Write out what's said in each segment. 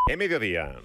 É mediodía.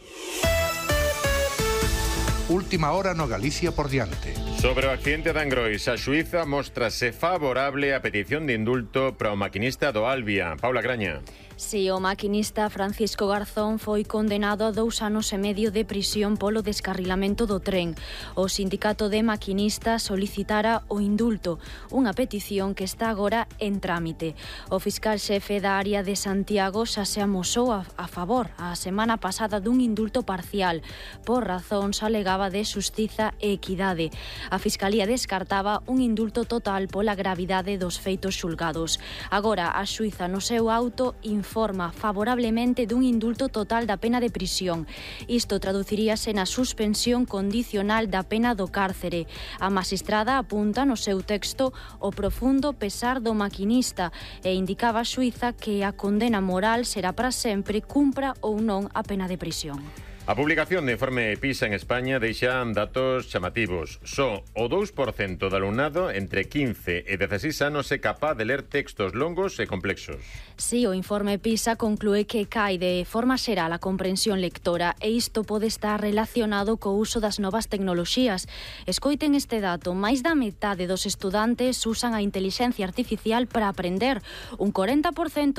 Última hora no Galicia por diante. Sobre o accidente de Angrois, a xuíza móstrase favorable á petición de indulto para o maquinista do Albia. Paula Graña. Si, o maquinista Francisco Garzón foi condenado a 2 anos e medio de prisión polo descarrilamento do tren. O sindicato de maquinistas solicitara o indulto, unha petición que está agora en trámite. O fiscal xefe da área de Santiago xa se amosou a favor a semana pasada dun indulto parcial por razóns alegaba de xustiza e equidade. A Fiscalía descartaba un indulto total pola gravidade dos feitos xulgados. Agora, a xuíza no seu auto informa favorablemente dun indulto total da pena de prisión. Isto traduciríase na suspensión condicional da pena do cárcere. A magistrada apunta no seu texto o profundo pesar do maquinista e indicaba a xuíza que a condena moral será para sempre, cumpra ou non a pena de prisión. A publicación de informe PISA en España deixa datos chamativos. Só o 2% do alumnado entre 15 e 16 anos é capaz de ler textos longos e complexos. Si, o informe PISA conclúe que cae de forma xeral a comprensión lectora e isto pode estar relacionado co uso das novas tecnoloxías. Escoiten este dato, máis da metade dos estudantes usan a intelixencia artificial para aprender. Un 40%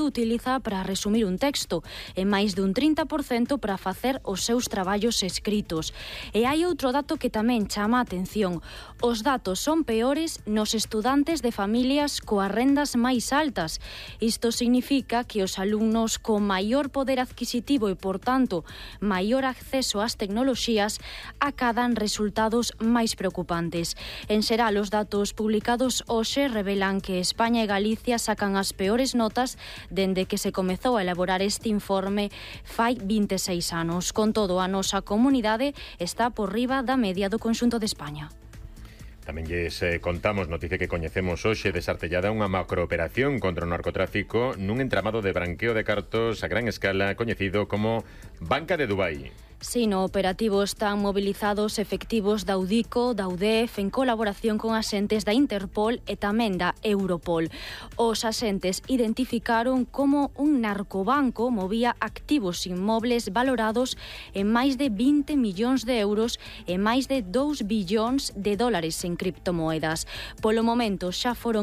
utiliza para resumir un texto e máis dun 30% para facer os seus traballos escritos. E hai outro dato que tamén chama a atención. Os datos son peores nos estudantes de familias coas rendas máis altas. Isto significa que os alumnos con maior poder adquisitivo e, por tanto, maior acceso ás tecnoloxías acadan resultados máis preocupantes. En xeral, os datos publicados hoxe revelan que España e Galicia sacan as peores notas dende que se comezou a elaborar este informe fai 26 anos. Con todo, a nosa comunidade está por riba da media do conxunto de España. Tamén lles contamos noticia que coñecemos hoxe desartellada unha macrooperación contra o narcotráfico nun entramado de branqueo de cartos a gran escala coñecido como Banca de Dubai. Si, no operativo están movilizados efectivos da UDICO, da UDEF, en colaboración con axentes da Interpol e tamén da Europol. Os axentes identificaron como un narcobanco movía activos inmobles valorados en máis de 20 millóns de euros e máis de 2 billóns de dólares en criptomoedas. Polo momento xa foron